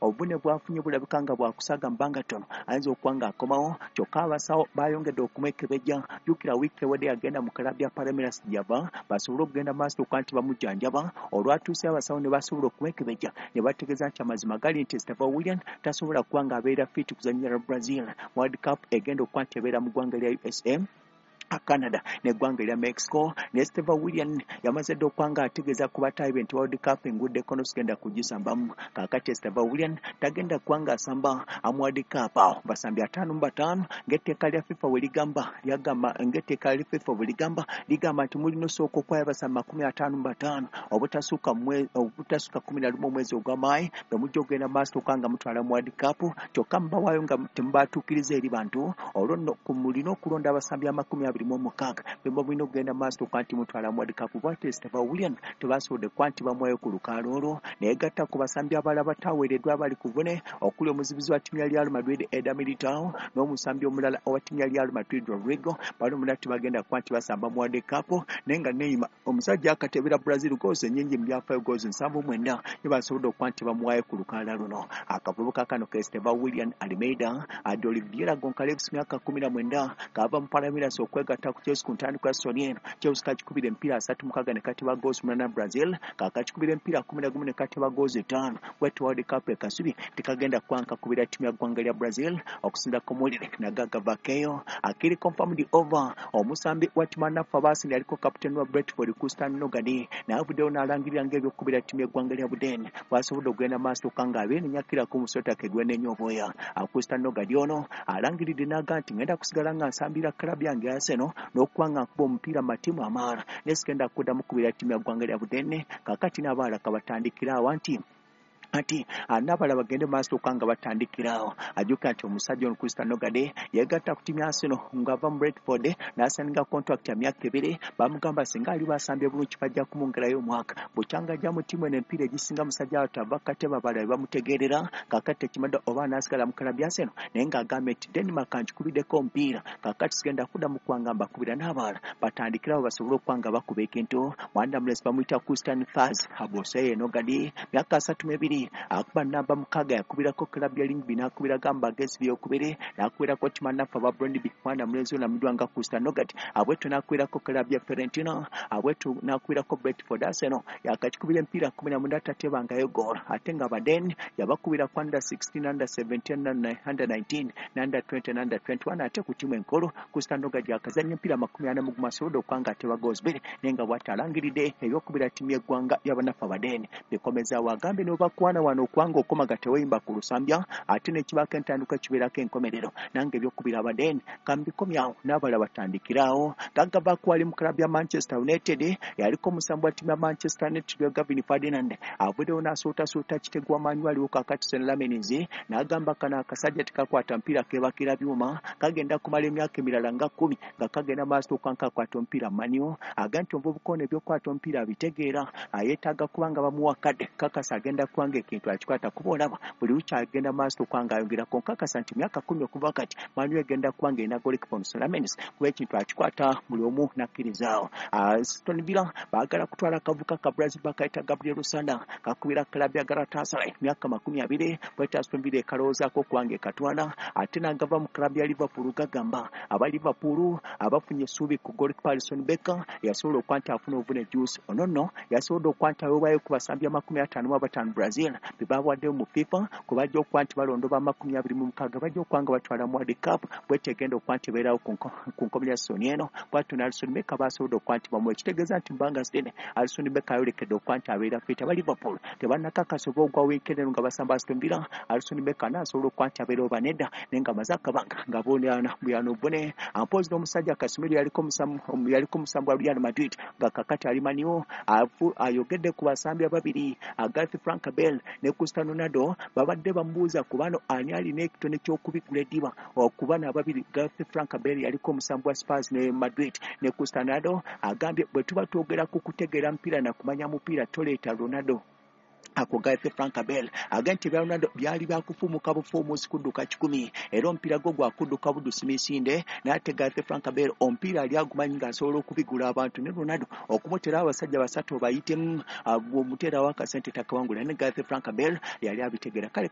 Obuvune bwafunye bulabika nga bwakusaga mu bbanga ttono, ayinza okuba nga akomawo. Kyokka abasawo bayongedde okumwekebejja. Jjukira wiiki ewedde yagenda mu club ya Palmeiras gyava basobole okugenda maaso okuba nti bamujjanjaba. Olwatuuse abasawo ne basobola okumwekebejja ne bategeeza nti amazima gali nti Estevao Willian tasobola kuba nga abeera fit kuzannyira Brazil World Cup egenda okuba nti ebeera mu ggwanga lya USA, Canada n'eggwanga erya Mexico. Ne Estevao Willian yamaze dda okuba nga ategeeza ku bataayi be nti World Cup enguddeko nosigenda kugisambamu. Kaakati Estevao Willian tagenda kuba nga asamba mu World Cup. Awo basambi 55 ng'etteeka lya FIFA bwe ligamba, lyagamba ng'etteeka lya FIFA bwe ligamba, ligamba nti mulina osooka okwayo abasambi 55 obutasukka 11 omwezi ogw'amaayi bwe mujja okugenda maaso okuba nga mutwala mu World Cup. Kyokka mubawaayo nga temubatuukiriza eri bantu. Olwo nno mulina okulonda abasambi 26 bwe mulina okugenda maaso okuba nti mutwala mu World Cup. Bw'atyo Estevao Willian tebasobodde kuba nti bamuwayo ku lukaalo olwo, naye gatta ku basambi abalala bataweereddwa abali ku buvune okuli omuzibizi wa ttiimu ya Real Madrid Eder Militao n'omusambi omulala owa ttiimu ya Real Madrid Rodrigo. Bano bonna tebagenda kuba nti basamba mu World Cup. Naye nga Neymar omusajja akatebera Brazil goals ennyingi mu byafaayo, goals 79, ye basobodde okuba nti bamuwaayo ku lukaala luno. Akavubuka kano ke Estevao Willian Almeida de Oliveira Goncalves, myaka 19, kaava mu Palmeiras okwegatta ku Chelsea ku ntandikwa ya season eno. Chelsea kakikubira emipiira 36 ne kateba goals 8. Brazil kakakikubira emipiira 11 ne kateba goals 5. Bwetyo World Cup ekasubi tekagenda kuba nkakubira ttiimu ya ggwanga lya Brazil okusinza ku mawulire nagagavakeyo akiri confirmed over. Omusambi wa ttiimu anaffe abaasini yaliko kapiteeni wa Brentford Christian Norgaard naye avuddeyo n'alangirira ng'ebyokukubira ttiimu y'eggwanga lya Buden bwasobodde okugenda maaso okka nga abeenenyakirako omusota kegwenenya obwoya. Christian Norgaard ono alangiridde n'aga nti ngenda kusigala nga nsambira club yange Arsenal n'okuba nga nkuba omupiira mu matiimu amalala, naye sigenda kuddamu kubira ttiimu ya ggwanga lya Budene. Kaakati n'abaala kabatandikira awa nti ati n'abalala bagende maaso okuba nga batandikirawo. Ajjukira nti omusajja ono Christian Norgaard yeegatta ku ttiimu ya Arsenal ng'ava mu Brentford n'asayininga contract ya myaka 2. Bamugamba singa ali basambye bulungi bajja kumwongerayo omwaka. Bukyanga ajja mu ttiimu eno emipiira egisinga musajja wattu ava katebe abalala bamutegeerera. Kaakati tekimadde oba anaasigala mu club ya Arsenal, naye ng'agambye nti Denmark nkikubiddeko omupiira, kaakati sigenda kuddamu kuba nga mbakubira, n'abalala batandikirawo basobole okuba nga bakuba ekintu. Mwana mulesi bamuyita Christian Faz Aboseye Norgaard, myaka 32, akuba namba 6. Yakubirako club ya Lyngby, n'akubira gamba agezi byokubiri, n'akubirako timanaffe aba Brøndby. Mwana mulenzi ono amanyiddwa nga Christian Norgaard abwetyo n'akubirako club ya Fiorentina, abwetyo n'akubirako Brentford. Arsenal yakakikubira emipiira 19 tatebangayo goal, ate nga Baden yabakubira ku under 16, under 17, under 19, under 20, under 21. Ate ku ttiimu enkulu Christian Norgaard yakazannya emipiira 41 asobodde okuba nga ateba goals 2, naye nga bw'ati alangiridde ebyokubira ttiimu y'eggwanga y'abannaffe Abaden bikomezaawo. Agambye n'obakwana wano okubanga okomaga teweyimba ku lusambya, ate n'ekibaako entandikwa kibeerako enkomerero. Nange ebyokubira Abaden kambikomyawo n'abalala batandikiraawo. Gagavaako ali mu club ya Manchester United, yaliko omusambi wa ttiimu ya Manchester United Gavin Ferdinand avuddeyo n'asuutasuuta kitegwa maanyi aliwo kaakati Senne Lammens, n'agamba kano akasajja tekakwata mupiira keebakira byuma, kagenda kumala emyaka emirala nga 10 nga kagenda maaso okuba nkakwata omupiira. Manyo aga nti omuvubuka ono ebyokukwata omupiira abitegeera, ayeetaaga kuba nga bamuwa kadde kakasa agenda kuba nga ekintu akikwata, kuba olaba buli lukya agenda maaso okuba nga ayongerako. Nkakasa nti myaka 10 okuva kati Man U egenda kuba nga erina goalkeeper Lammens, kuba ekintu akikwata buli omu nakkirizaawo. Aston Villa baagala kutwala akavuka ka Brazil bakayita Gabriel Sara, kakubira club ya Galatasaray, myaka 20. Bwete Aston Villa ekalowoozaako okuba nga ekatwala. Ate n'agava mu club ya Liverpool gagamba aba Liverpool abafunye essuubi ku goalkeeper Alisson Becker yasobola okuba nti afuna obuvune juice. Ono nno yasobodde okuba nti aweebwayo ku basambi 55 Brazil be bawaddeyo mu FIFA kwe bajja okuba nti balondoba 26 bajja okuba nga batwala mu World Cup bwete egenda okuba nti ebeerawo ku nkomerero ya season eno. Bwatyo ne Alisson Becker basobodde okuba nti bamuwa, ekitegeeza nti mbanga zinene Alisson Becker ayolekedde okuba nti abeera fit. Aba Liverpool tebannakakasa oba ogwa weekend eno nga basamba Aston Villa Alisson Becker anaasobola okuba nti abeera oba nedda, naye nga amaze akabanga nga bonaana buyano obuvune. Ampozi n'omusajja Casemiro yaliko omusambi wa Real Madrid nga kakati ali Man U ayogedde ku basambi ababiri Gareth Frank Bale ne Cristiano Ronaldo. Babadde bamubuuza ku bano ani alina ekitone ky'okubigula eddiba okuba n'ababiri. Gareth Frank Bale yaliko omusambi wa Spurs ne Madrid ne Cristiano Ronaldo. Agambye bwe tuba twogera ku kutegeera mupiira na kumanya mupiira, toleeta Ronaldo. Ako Gareth Frank Bale agambye nti ebya Ronaldo byali byakufuumuka bufuumuusi kudduka 100, era omupiira gwo gwakudduka buddusi misinde. Naye ate Gareth Frank Bale omupiira ali agumanyi ng'asobola okubigula abantu, ne Ronaldo okumuterawo abasajja basatu obayitemu omuteerawo akasente takawangula, ne Gareth Frank Bale yali abitegeera kale.